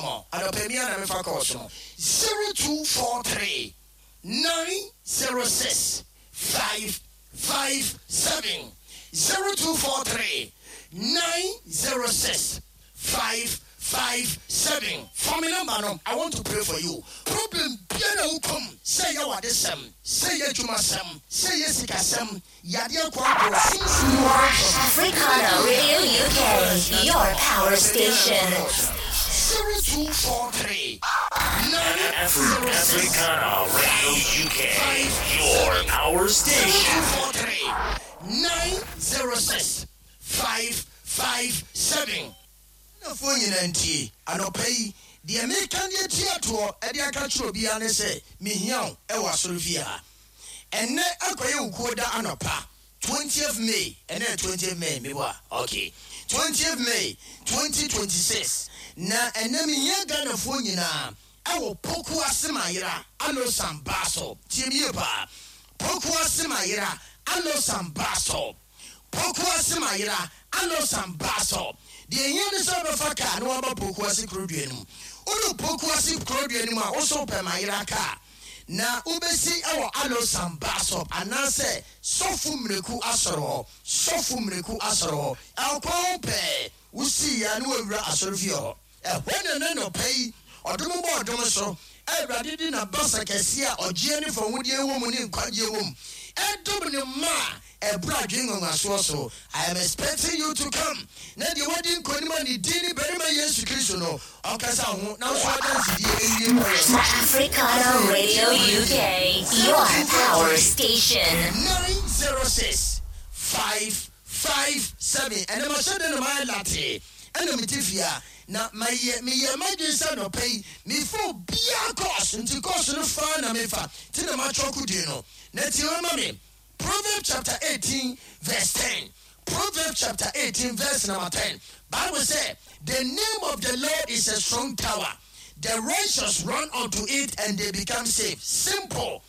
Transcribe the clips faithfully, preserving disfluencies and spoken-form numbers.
ama wo. Anɔpa mi a na mefa kɔɔ no zero two four three nine zero six five five seven zero two four three nine zero six five five seven. Fa me number no. I want to pray for you. Problem biara wokɔm sɛ yɛ wadesɛm, sɛ yɛ adwumasɛm, sɛ yɛ sikasɛm, yadeɛ kɔ akɔ sunsun. Africana Radio U K, your power station. Zero two four three nine zero six Africana Radio U K, your power zero station. two four three nine zero six five five seven. Nafoɔ nyinaa ntie anɔpa yi deɛ meka deɛ tia toɔ ɛde aka kyerɛ obiara ne sɛ mehia wo ɛwɔ asɔre ha. Ɛnnɛ akɔyɛ wo kuo da anɔpa, twentieth May. Ɛnɛ twentieth May meboa, okay, twentieth May twenty twenty-six. Na ɛnɛ mehia Ghanafoɔ nyinaa ɛwɔ Pokuase Mayera Alosam Bus Stop. Tie me yie paa. Pokuase Mayera Alosam Bus Stop, Pokuase Mayera Alosam Bus Stop. Deɛ ehia ne sɛ wobɛfa kaa na waba Pokuase kurodua no mu. Wode Pokuase kurodua no mu a, wosɛ wopɛ Mayera kaa na wobɛsi ɛwɔ Alosam Bus Stop anaasɛ Sɔfo Mmireku asɔre hɔ. Sɔfo Mmireku asɔre hɔ ɛkwan ho pɛɛ wosii ya ne wawura asɔre fie hɔ. Ɛhɔ na ne nɔpɛ yi ɔdom bɔ ɔdom so. Awurade di n'abasa kɛseɛ a ɔgyeɛ ne fawodeɛ wɔ mu ne nkwagyeɛ wɔ mu ɛdom ne mma a ɛbrɛ adwene nwanwasoɔ so. I am expecting you to come na deɛ wadi nkonim a ne din ne barima Yesu Kristo no ɔkasa ho na nso adansedie ɛwie pɛyɛ so. Africana Radio U K, your power station. nine zero six five five seven. Ɛnna ma hyɛ de na ma yɛ late ɛna mi ti fia na ma yɛ mi yɛ ma dwen sɛ nɔpɛ yi mi fo bia course nti course no fa na mi fa ti na ma twɛ kudie no na tie wɔn ma mi. Proverbs chapter eighteen verse ten. Proverbs chapter eighteen verse number ten. Bible say, "The name of the Lord is a strong tower. The righteous run unto it and they become safe." Simple.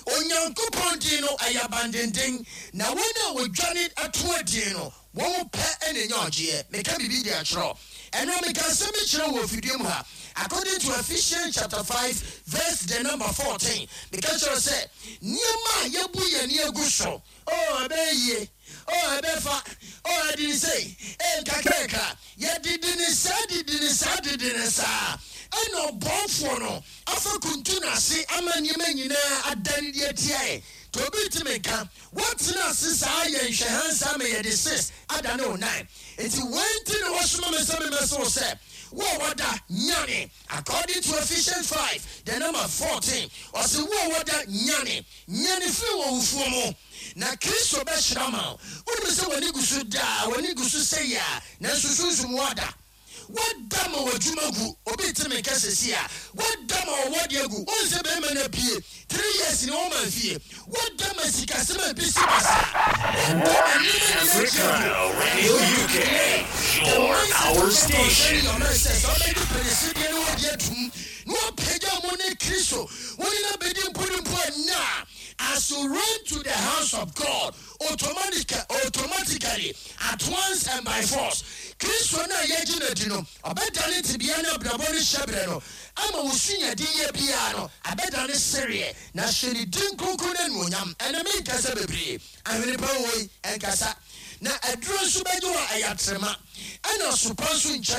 Onyankopɔn din no ɛyɛ abandenden na wɔn a wɔdwane ato adin no wɔn pɛ ɛna nya ɔgyeɛ. Meka biribi de akyerɛ ɛno. Meka asɛm bi kyerɛ wɔ fidie mu ha. According to Ephesians chapter five verse the number fourteen, meka kyerɛ sɛ nneɛma a yɛbu yɛn ani agu so, oh, ɛbɛyɛ yie, oh, ɛbɛfa, oh, ɛde ne sei ɛnkakraka, yɛdidi ne saa, didi ne saa, didi ne saa, ɛna ɔbɔnfoɔ no afa kuntu n'ase ama nneɛma nyinaa adane deɛ tia yɛ. Nti obi ntumi nka wɔtena ase saa yɛ nhwɛhansa ma yɛde six adane wo nine. Nti wei nti na wɔsoma me sɛ memɛse wo sɛ wo a wɔda nyane. According to Ephesians five the number fourteen, ɔse wo a wɔda nyane, nyane firi wɔ wufuo mu na Kristo bɛhyira ma wo. Wonim sɛ w'ani gu so daa, w'ani gu so sɛ yɛ a, nanso sunsum wada. Wada ma w'adwuma gu. Obi te me nka sɛsi a wada ma ɔwɔde agu. Wohu sɛ bɛrima no apue three years ne wɔma fie. Wada ma sikasɛm a bi si basa. Wada ma nneɛma nyinaa akyi Africana agu. Radio U K, your power station. Sɛ ɔbɛdi pɛnɛsideɛ ne wɔde atum na wɔpagya mu ne Kristo wɔne no bɛdi mponimpo a na as you run to the house of God, automatic, automatically, at once and by force, Kristo no a yɛgye no adi no ɔbɛdane tebea no abrabɔ no hyɛberɛ no ama wo sunyade yɛ biara no abɛdane sereɛ na hyɛ ne din kronkron no anuonyam. Ɛnɛ menkasa bebree. Ahwene pa woi ɛnkasa na aduro nso bɛgye wɔ ɛyɛ atrema ɛna sopa nso nkyɛ.